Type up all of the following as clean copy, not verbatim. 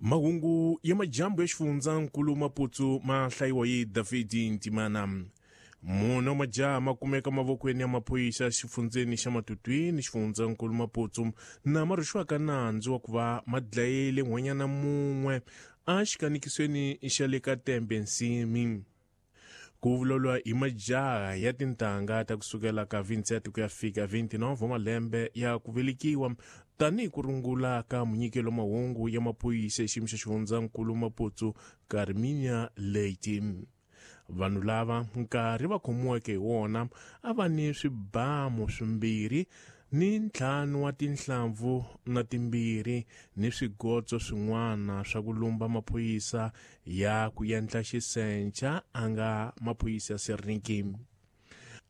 Mahungu ya majambu ya xifundzankulu Maputsu ma hlayiwa hi David Ntimana. Mune wa majaha ma kumeka mavokweni ya maphorisa xifundzeni xa Matutwini xifundzankulu Maputsu na ma rhwexiwaka nandzu wa ku va ma dlayile nhwanyana mun'we exikanikisweni xa le ka Tembe Nsimi. Ku vulavuriwa hi majaha ya tintangha ta kusukela ka 27 ku ya fika 29 wa malembe ya ku velekiwa tanihi ku rungula ka munyikelo mahungu ya maphorisa xiyimo xa xifundzankulu Maputsu Carminia Leite. Vanhu lava nkarhi va khomiweke hi wona a va ni swibamu swimbirhi ni ntlhanu wa tinhlampfu na timbirhi ni swigotso swin'wana swa ku lumba maphorisa ya ku endla xisenca a nga maphorisa ya Serniki.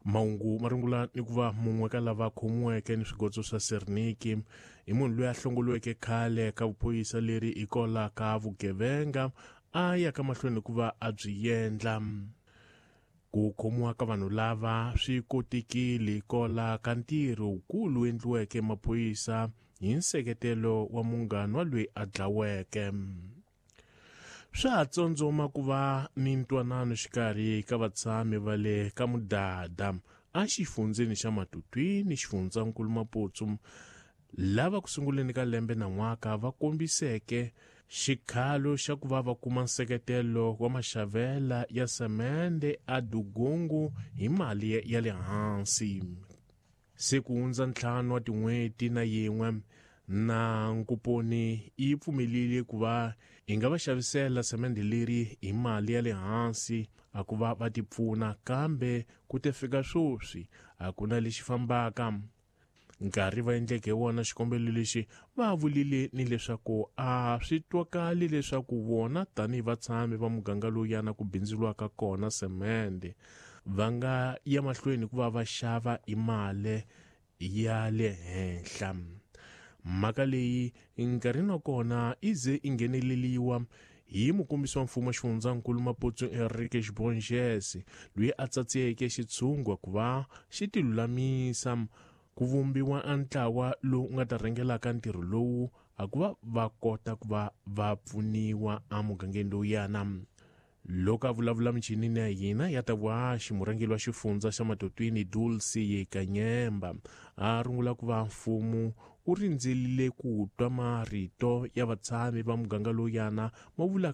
Mahungu ma rungula ni ku va mun'we ka lava khomiweke ni swigotso swa Serniki i munhu loyi a hlongoliweke khale ka vuphorisa leri hikola ka vugevenga a ya ka mahlweni ku va a byi endla. Ku khomiwa ka vanhu lava swi kotekile hikola ka ntirho wukulu endliweke maphorisa hi nseketelo wa munghana wa loyi a dlaweke. Swa ha tsondzoma ku va ni ntwanano xikarhi ka vatshami va le ka Mudada exifundzeni xa Matutwini xifundzankulu Maputsu lava ku sunguleni ka lembe na n'waka va kombiseke xikhalo xa ku va va kuma nseketelo wa maxavela ya semende a Dugungu hi mali ya le hansi. Se ku hundza 5 wa tin'hweti na yin'we na nkuponi yi pfumelile ku va hi nga va xavisela semende leri hi mali ya le hansi a ku va va tipfuna, kambe ku te fika sweswi a ku na lexi fambaka. Nkarhi va endleke wona xikombelo lexi va vulile ni leswaku a swi twakali leswaku vona tanihi vatshami va muganga lowuyana ku bindzuriwaka kona semende va nga ya mahlweni ku va va xava hi mali ya le henhla. Mhaka leyi nkarhini wa kona yi ze yi ngheneleriwa hi mukombisi wa mfumo xifundzankulu Maputsu Enrique Xibonjese loyi a tsatsiyeke xitshungwa ku va xi tilulamisa ku vumbiwa a ntlawa lowu nga ta rhangelaka ntirho lowu a ku va va kota ku va va pfuniwa emugangeni lowuyana. Loko a vulavula michinini ya hina ya ta vuhaxi, murhangeri wa xifundza xa Matutwini Dulcie Kanyemba a rungula ku va mfumo wu rindzerile ku twa marito ya vatshami va muganga lowuyana ma vulaka.